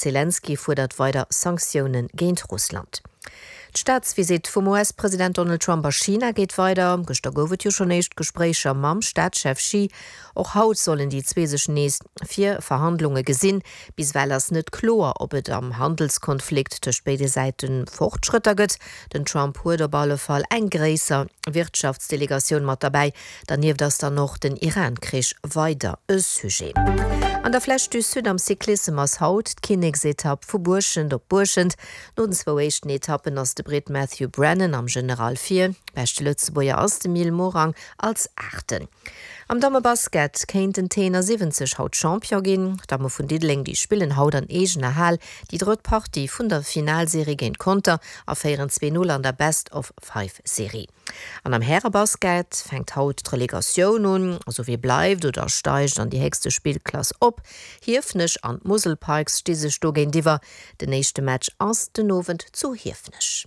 Zelenskyj fuerdert weider Sanktioune géint Russland. D'Staatsvisitt vum US-President Donald Trump a China geet weider. Gëschter gouf et jo schonn éischt Gespréicher mam Staatschef Xi. Och haut sollen déi zwee sech nees fir Verhandlunge gesinn. Bis ewell ass net kloer, ob et am Handelskonflikt tëscht béide Säite Fortschrëtter gëtt. Den Trump huet op alle Fall eng gréisser Wirtschaftsdelegatioun mat derbäi. Dernieft ass dann och den Iran-Krich weider e Sujet. An der Flèche du Sud am Cyclissem ass haut d'Kinneksetapp vu Buerschent op Buerschent. No den zwou éischten Etappen ass de Britt Matthew Brennan am General vir. Beschte Lëtzebuerger ass de Mil Morang als Aachten. Am Dammebasket kéinten d'T71 haut Champion ginn. D'Damme vun Diddeleng déi spillen haut an eegener Hal déi drëtt Partie vun der Finalserie géint Conter a féieren 2, 0 an der Best-of-Five-Serie. An am Härebasket fänkt haut d'Relegatioun un, also wie bleift oder steigt an déi héchste Spillklass op. Hiefenech an d'Musel Pikes sti sech do géintiwwer. Den éischte Match ass den Owend zu Hiefenech.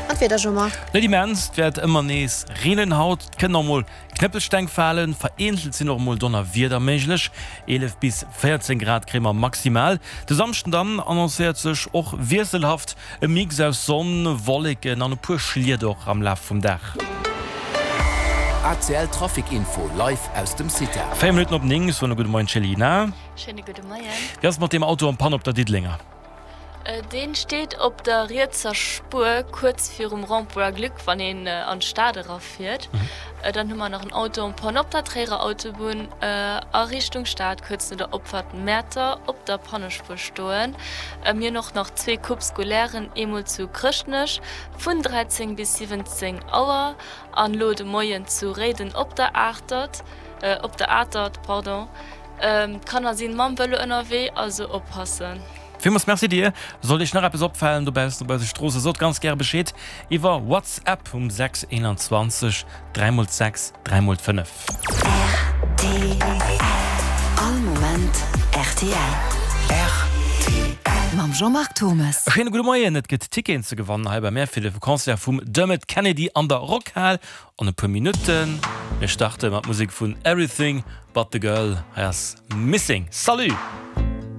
An d'Wieder, Jean-Marc? Net immens, et wäert ëmmer nees reenen haut, et kënnen och mol Knëppelsteng falen, vereenzelt sinn och mol Donnerwieder méiglech. 11 bis 14 Grad kréie mer maximal. De Samschden dann annoncéiert sech och wiesselhaft, e Mix aus Sonn, Wolleken an e puer Schliet och am Laf vum Dag. ACL Trafic Info live aus dem CITA. 4 Minutten op 9, soen e gudde Moien Céline. Schéine gudde Moien. Wéi ass et mat deem Auto en panne op der Diddelenger? Deen steet op der rietser Spuer kuerz virum Rond-point Glück, wann een an d'Stad erafiert. Dann hu mer nach en Auto en panne op der Tréierer Autobunn a Richtung Stad, kuerz no der Opfahrt Mäerter op der Pannespuer stoen. Mir hunn och nach zwee Coupes scolairen, eemol zu Chrëschtnech vun 13 bis 17 Auer an elo de Moien zu Réiden op der Atert, op der Atert, pardon. D'Kanner sinn mam Vëlo ënnerwee, also oppassen. Villmools Merci dir. Sollt iech nach eppes opfalen dobaussen op eise Stroosse, sot ganz gäre Bescheed iwwer WhatsApp um 6 21 3 mol 6 3 mol 5. Rtl All Moment rtl. Rtl. Mam Jean-Marc Turmes. E schéine gudde Moien. Et gëtt Ticketen ze gewannen hei bei mär fir de Concert vum Dermot Kennedy an der Rockhal an e puer Minutten. Mir starte mat Musek vun Everything But The Girl. Hei ass Missing. Salut!